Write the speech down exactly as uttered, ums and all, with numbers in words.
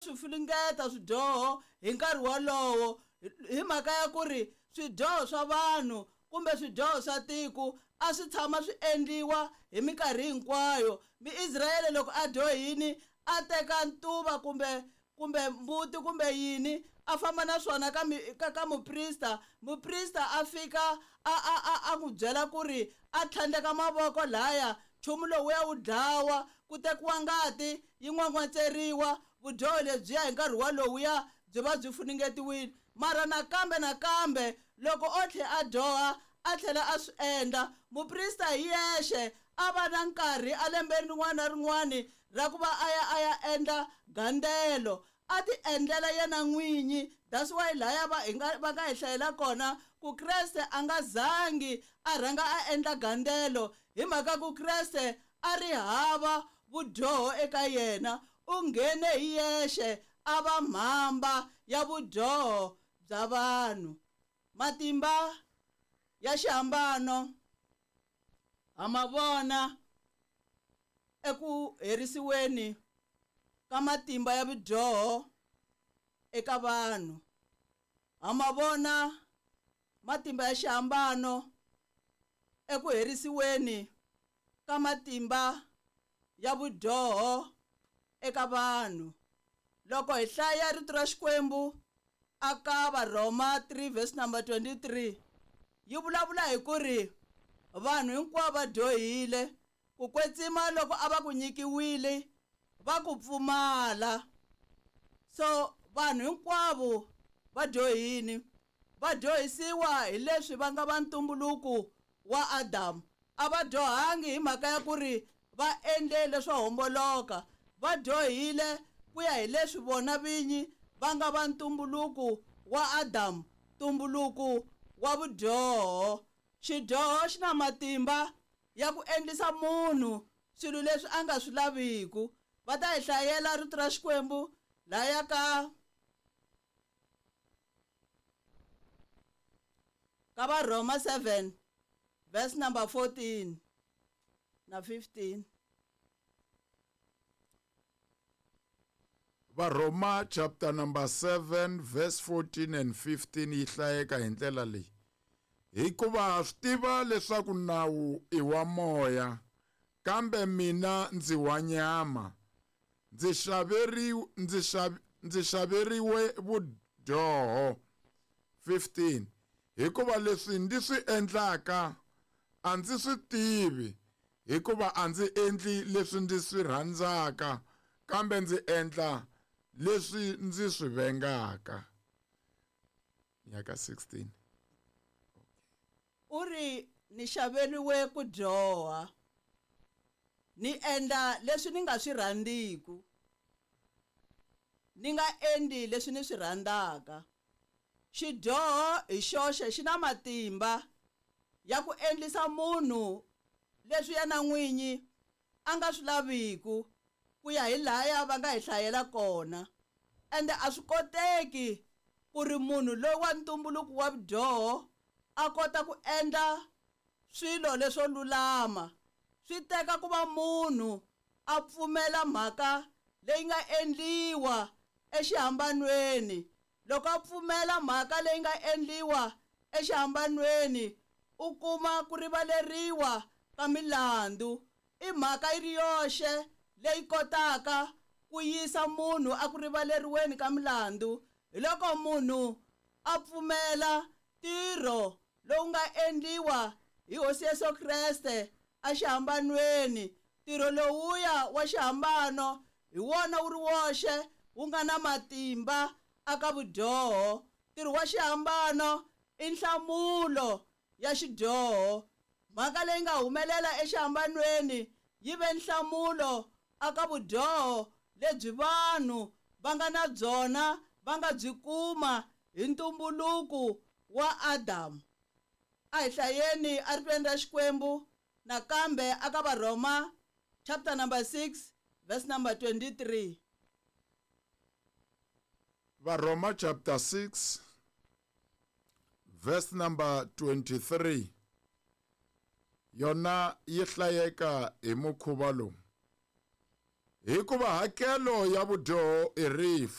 swi fulungeta swidyoho hi nkarhi wolowo hi mhaka ya ku ri swidyoho swa vanhu kumbe swidyoho swa tiko a swi tshama swi endliwa hi minkarhi hinkwayo. Muisrayele loko a dyohini a teka ntuva kumbe kumbe mbuti kumbe yini a famba na swona ka ka, ka muprista. Muprista a fika a a a a n'wi byela ku ri a tlhandleka mavoko laya, nchumu lowuya wu dlawa, ku tekiwa ngati yi n'wan'watseriwa, vudyoho lebyiya hi nkarhi walowuya byi va byi funengetiwile. Mara nakambe nakambe loko o tlhela a dyoha a tlhela a swi endla, muprista hi yexe a va na nkarhi a lembeni rin'wana na rin'wana ra ku va a ya a ya endla gandzelo, a ti endlela yena n'winyi. That's why laya va hi nga va nga hi hlayela kona ku Kreste a nga zangi a rhanga a endla gandzelo, hi mhaka ku Kreste a ri hava vudyoho eka yena, u nghene hi yexe a va mhamba ya vudyoho bya vanhu. Matimba ya xihambano ha ma vona eku herisiweni ka matimba ya vudyoho eka vanhu. Ha ma vona matimba ya xihambano eku herisiweni ka matimba ya vudyoho eka vanhu. Loko hi hlaya rito ra Xikwembu aka Varhoma three verse number twenty-three yi vulavula hi ku ri vanhu hinkwavo va dyohile, ku kwetsima loko a va ku nyikiwile va ku pfumala. So vanhu hinkwavo va dyohini, va dyohisiwa hi leswi va nga va ntumbuluko wa Adamu. A va dyohangi hi mhaka ya ku ri va endle leswo homboloka, va dyohile ku ya hi leswi vona vinyi va nga va ntumbuluko wa Adamu, ntumbuluko wa vudyoho. Xidyoho xi na matimba ya ku endlisa munhu swilo leswi a nga swi laviku. Va ta hi hlayela rito ra Xikwembu laya ka ka Varhoma seven verse number fourteen na fifteen. Varhoma chapter number seven verse fourteen and fifteen yi hlayeka hi ndlela leyi: hikuva ha swi tiva leswaku nawu i wa moya, kambe mina ndzi wa nyama, ndzi xaveriwe ndzi xav ndzi xaveriwe vudyoho. fifteen Hikuva leswi ndzi swi endlaka a ndzi swi tivi, hikuva a ndzi endli leswi ndzi swi rhandzaka, kambe ndzi endla leswi ndzi swi vengaka. Nyaka sixteen. U ri ni xaveriwe ku dyoha, ni endla leswi ni nga swi rhandziku, ni nga endli leswi ni swi rhandzaka. Xidyoho hi xoxe xi na matimba ya ku endlisa munhu leswi yena n'winyi a nga swi laviku, ku ya hi laya va nga hi hlayela kona. Ende a swi koteki ku ri munhu loyi wa ntumbuluko wa vudyoho a kota ku endla swilo leswo lulama. Swi teka ku va munhu a pfumela mhaka leyi nga endliwa exihambanweni. Loko a pfumela mhaka leyi nga endliwa exihambanweni, u kuma ku rivaleriwa ka milandzu. I mhaka yi ri yoxe leyi kotaka ku yisa munhu a ku rivaleriweni ka milandzu, hi loko munhu a pfumela ntirho lowu nga endliwa hi Hosi Yesu Kreste exihambanweni. Ntirho lowuya wa xihambano hi wona wu ri woxe wu nga na matimba aka vudyoho. Ntirho wa xihambano i nhlamulo ya xidyoho. Mhaka leyi nga humelela exihambanweni yi ve nhlamulo aka vudyoho lebyi vanhu va nga na byona, va nga byi kuma hi ntumbuluko wa Adamu. A hi hlayeni eritweni ra Xikwembu nakambe aka Varhoma chapter number six verse number twenty-three. Varhoma chapter six verse number twenty-three yona yi hlayeka hi mukhuva lowu: hikuva hakelo ya vudyoho i rifu,